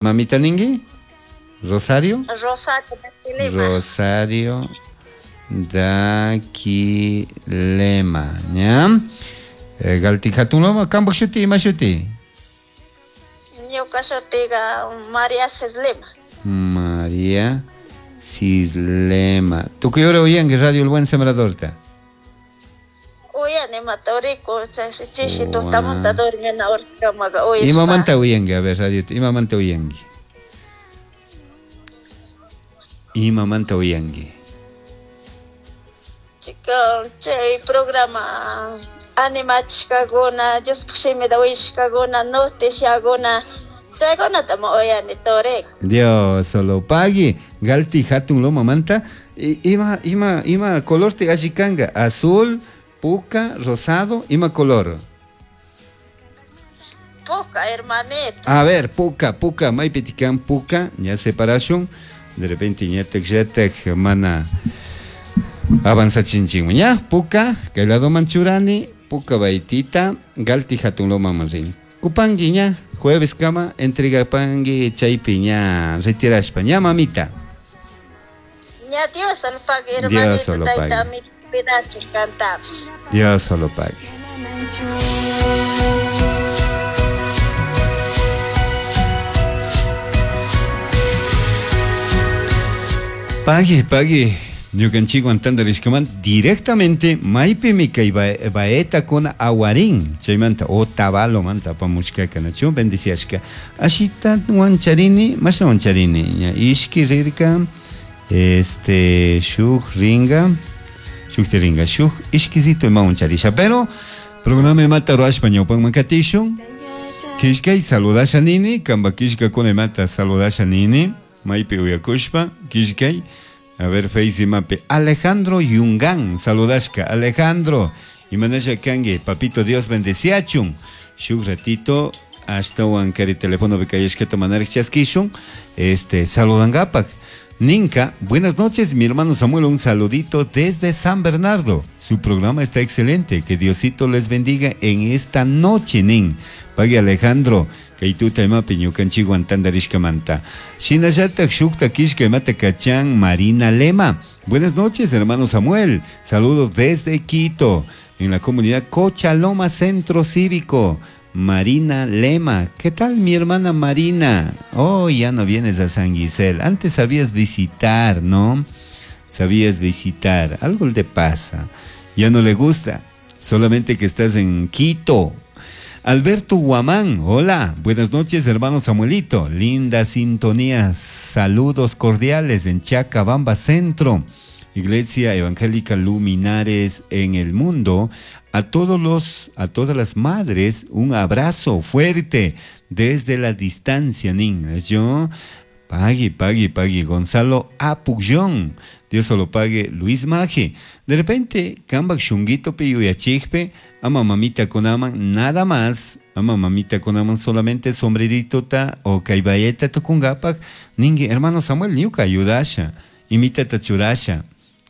Mamita ningi? Rosario? Rosario Daquilema. Rosario Daquilema, ña? Galti hatun loma, kambak shuti, ima shuti? Ñuka shutiga María Cislema. María Cislema. Tukuy hora uyanki Radio El Buen Sembradorta? Uyani matorico, chishi tutamunta dormina horkamaga uyashpa. Imamanta uyanki, a ver, radio, imamanta uyanki? Imamanta uyanki? Chica, chay programa animachishkakuna, Diospaj shimita uyashkakuna, noticiakuna, chaykunatami uyani toriko. Dios solo pague. Galti hatun loma manta. Ima, ima, ima color te alli kanga? Azul, puca, rosado, ima color? Puca, hermanito. A ver, puca, puca, maypitikan puca, ya separación. De repente ñatek yatek mana avanzachinchikman, ña, puca, kay lado manchurani, puca baitita, galti hatun loma manrin. Kupangi ña, jueves kama, entrega pangui chaypi ña, retirashpa, ña mamita. Ña Dios solo pague, Dios hermanito, solo tayta, pague. mi cuidacho cantapish. Dios solo pague. Pague, pague. Ñukanchikwan tantarishkaman directamente maypimi kay baeta con aguarín chaymanta o tabalo manta apamushkaka nachu bendiciashka ashita wancharini mashna wancharini ña ishki rirka este shuk ringa shuk ringa shuk ishkisito ima wancharisha pero programa imata ruashpa ñawpanman katishun kishkay saludasha nini kamba kishkakuna imata saludasha nini maypi uyakushpa kishkay. A ver, Face imapi. Alejandro Yungán, saludashka. Alejandro, imanasha kangi, papito Dios bendeciachun. Shuk ratito, hasta kari teléfono bekayashkata manarek chaskishun. Este, saludangapak. Ninka, buenas noches, mi hermano Samuel, un saludito desde San Bernardo. Su programa está excelente, que Diosito les bendiga en esta noche, nin. Pague Alejandro, kaytuta imapi ñukanchikwan tantarishkamanta. Shinallatak shukta kishka imata kachan Marina Lema. Buenas noches, hermano Samuel. Saludos desde Quito, en la comunidad Cochaloma Centro Cívico. Marina Lema, ¿qué tal mi hermana Marina? Oh, ya no vienes a San Gisel. Antes sabías visitar, ¿no? Sabías visitar. Algo te pasa. Ya no le gusta. Solamente que estás en Quito. Alberto Guamán, hola. Buenas noches, hermano Samuelito. Linda sintonía. Saludos cordiales en Chacabamba Centro. Iglesia Evangélica Luminares en el mundo. A todas las madres, un abrazo fuerte desde la distancia, nin. Yo, pague, pague, pague. Gonzalo Apugyón, Dios solo pague. Luis Maje. De repente, kambak shunguito pe yuyachikpe, ama mamita konaman, nada más. Ama mamita konaman solamente sombrerito ta o kaibayeta tukungapak. Ningue, hermano Samuel, ñuka ayudasha. Imita tachurasha.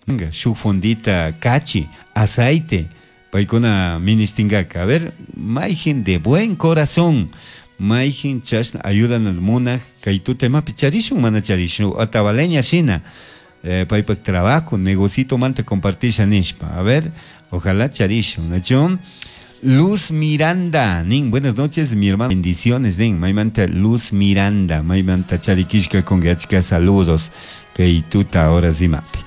Venga, shuk fondita kachi, aceite. Paykuna ministingaka. A ver, mayjin de buen corazón. Mayjin chashna ayudan al munaj. Kaytuta imapi charishun mana charishun. Atabaleña shina. Paypak trabajo, negocito manta compartisha nishpa. A ver, ojalá charishun. ¿No? Luz Miranda, nin, buenas noches, mi hermano. Bendiciones, nin. Maymanta Luz Miranda. Maymanta charikishka con gachka saludos. Kaytuta ahora sí mapi.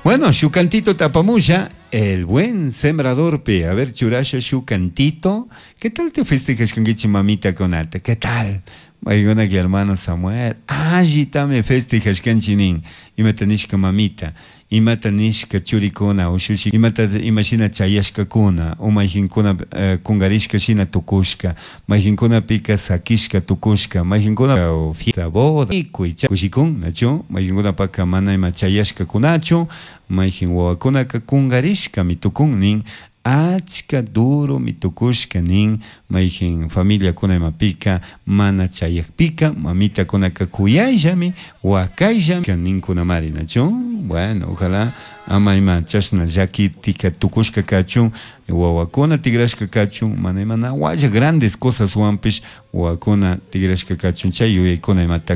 Bueno, shukantito tapamusha, el buen sembrador pe. A ver, churasha, shukantito. ¿Qué tal te festejas con gichi mamita con arte? ¿Qué tal? Maigona que hermano Samuel. Allí me festejas con chinin. Imata nishka mamita. Imata nishka churikuna. Ushushi. Imata imashina chayashka kuna. Umajinkuna kungarishka shina tukushka. Majinkuna pika sakishka tukushka. Majinkuna fiesta boda. Kushikun, nacho. Majinkuna paka mana ima chayashka kunacho. Majin wawakuna ka kungarishka mitukun nin. Achka duro mitukushka nin mayjin familia kuna imapika mana chayakpika mamita kuna kakuyayllami wakayllami nin kunamari nacho. Bueno, ojalá Ama ima chashna llaki tika tukushka kachun wawakuna tigrashka kachun mana ima na walla grandes cosaswanpish wawakuna tigrashka kachun chay yuyaykuna imata.